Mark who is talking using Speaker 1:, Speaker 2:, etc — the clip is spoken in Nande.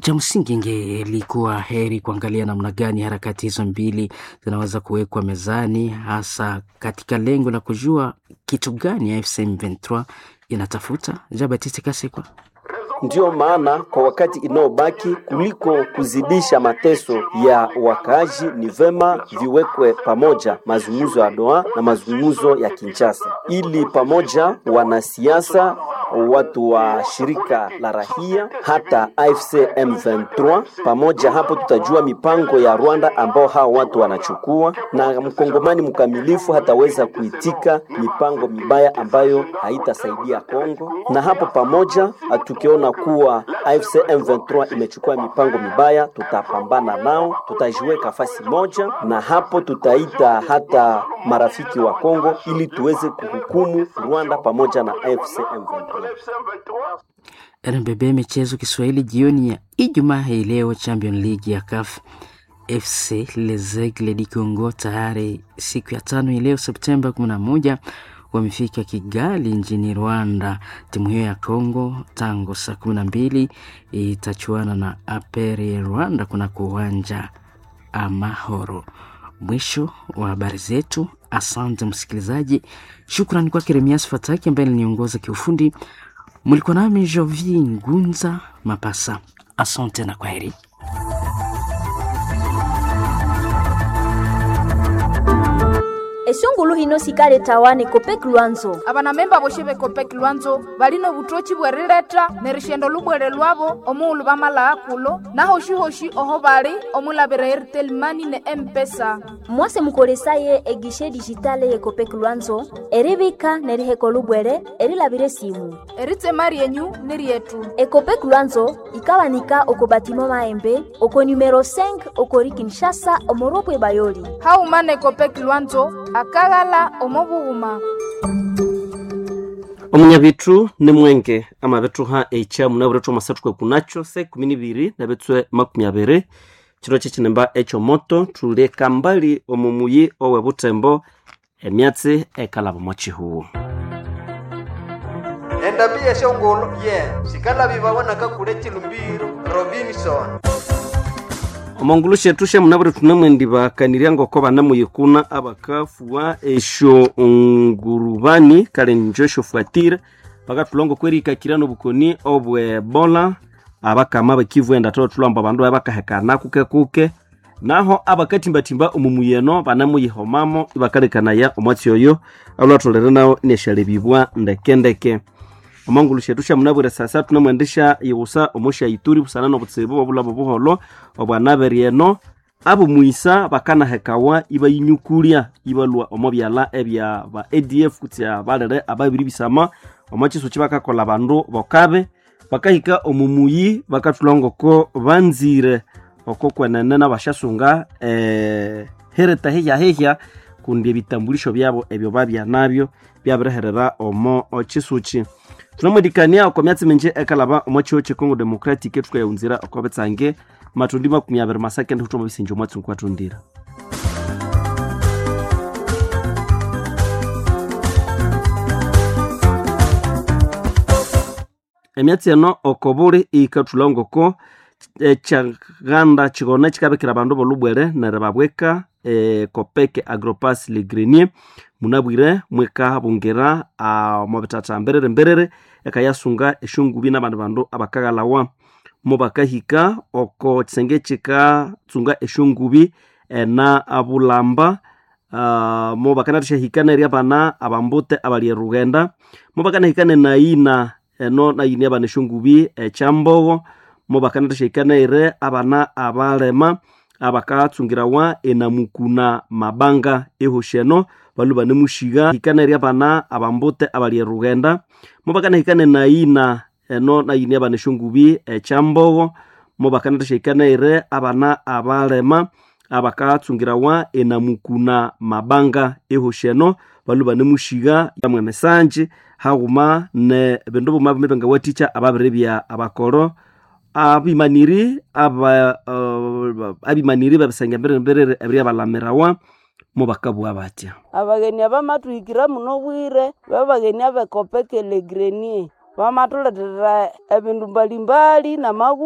Speaker 1: Cha msingi ingelikuwa heri kuangalia namna gani harakati hizo mbili zinaweza kuwekwa mezani, hasa katika lengo la kujua kitu gani AFC M23 inatafuta. Jean Baptiste Kasekwa.
Speaker 2: Ndiyo maana kwa wakati inaobaki, kuliko kuzidisha mateso ya wakaaji, ni vema viwekwe pamoja mazungumzo ya Doha na mazungumzo ya Kinshasa, ili pamoja wanasiasa, watu wa shirika la rahia, hata AFC M23 pamoja. Hapo tutajua mipango ya Rwanda ambao hao watu wanachukua, na mkongomani mkamilifu hataweza kuitika mipango mibaya ambayo haitasaidia Kongo. Na hapo pamoja tukiona kuwa AFC M23 imechukua mipango mibaya, tutapambana nao, tutajiweka fasi moja, na hapo tutaita hata marafiki wa Kongo ili tuweze kuhukumu Rwanda pamoja na AFC M23.
Speaker 1: RMBB Michezo Kiswahili jioni ya Ijumaa hii leo, Champion League ya CAF FC Les Aigles du Congo tayari siku ya tano hii leo Septemba 11 wamefika Kigali nchini Rwanda. Timu hiyo ya Congo tangu saa 12 itachuana na APR Rwanda kunako uwanja Amahoro. Mwisho wa habari zetu. Asante msikilizaji, shukrani kwake Remias Fataki ambaye aliniongoza kiufundi. Mlikuwa nami Jovi Ngunza Mapasa. Asante na kwaheri.
Speaker 3: Esungulu hino sikale tawane Kopek Lwanzo.
Speaker 4: Abanamemba boshe be Kopek Lwanzo balino obutoki bwerileta nerishendo lubwere lwabo omuulu bamala kulo nahoshi-hoshi oho bali omulabira Airtel Money ne M-Pesa.
Speaker 3: Mwase mukolesaye egishe digitale ye Kopek Lwanzo eribika neriheko lubwere erilabire simu.
Speaker 4: Eritsema ryenyu ni ryetu.
Speaker 3: Ekopek Lwanzo ikawanika oko batimo maembe oko numero 5 okori Kinshasa omoropwe bayoli.
Speaker 4: Hauma ne Kopek Lwanzo akaghala omo bughuma.
Speaker 5: Omunyabitu ni mwenge amabithuha ekya munabwire masathu kunacho se 12 nabitswe 20 kiro kyekinemba ekyomoto thuli kambali omu muyi owe Butembo emyatsi ekalaba omo kihuwu.
Speaker 6: Endambi yeshongolo ye sikalabibawa nakakule chilumbiro Robinson.
Speaker 5: Omongulu shethu syamunabwire thunemwendibakanirya ngoko banamuyikuna abakafuwa esyo ngurubani kale njo esyofuatire bakathulha ngokwerihikakirya nobukoni obwe Ebola. Abakama bakivu enda thulha ambu abandu bakahekana kuke kuke naho abakathimbathimba omu muyeno banamuyihomamo ibakalekanaya omwatsi oyo alwatholere nawo inesyalebibwa ndekendeke. Omongulu shethu syamunabwire sasa thunamwendesya ighusa omo sya Ituri busana nobutsibu obulhaba obuholho obwanabiri eno abomwisa bakanahekawa ibayinyukulya ibalhwa omo byalha ebya ba ADF kutse abalere ababiri bisama omo kisuki bakakolha abandu bokabe bakahika omu muyi bakathulha ngoko banzire oko kwenene nabasyasunga hereta hehya kundi ebitambulisho byabo ebyo babya nabyo byabiriherera omo kisuki. Thunamwendikania oko myatsi mingi ekalaba omo kihugho kye Congo Democratic thukayaghunzira oko bitsange matundi 20 masaka ndi huthuma bisinja omwatsi ngokwathundira. Emyatsi eno oko buli iyikathulha ngoko ekyaghanda kighona kikabikira abandu bolubwere neribabweka Kopek Agropas Le Grenier munabwire mwikabungira omo bithatha mbiriri mbiriri ekayasunga esyongubi nabandi bandu abakaghalawa mubakahika oko kisenge kikatsunga esyongubi ena abulamba mubakanathasyahika nerya abana abambute abali erughenda mubakanahika nenayina eno nayini abana esyongubi ekyambogo mubakanathasyahika nere abana abalema abakatsungirawa enamukuna mabanga ehoshi eno balwe banemushigha hika nerya abana abambute abali erughenda mubakanahika nenayina eno nayini abana esyongubi ekyambogo mubakanathasyahika nere abana abalema abakatsungirawa enamukuna mabanga ehoshi eno balwe banemushigha yamwe emisanji haghuma ne bindu buma buma ebyangawathikya ababiribya abakoro abimaniri aba abimaniri babisenge mbiriri ebiryabalamirawa mubakabugha batya.
Speaker 7: Abagheni abamathuhikira muno bwire babagheni abekopeke Le Grenier bamathuletera ebindu mbalimbali namaghutha.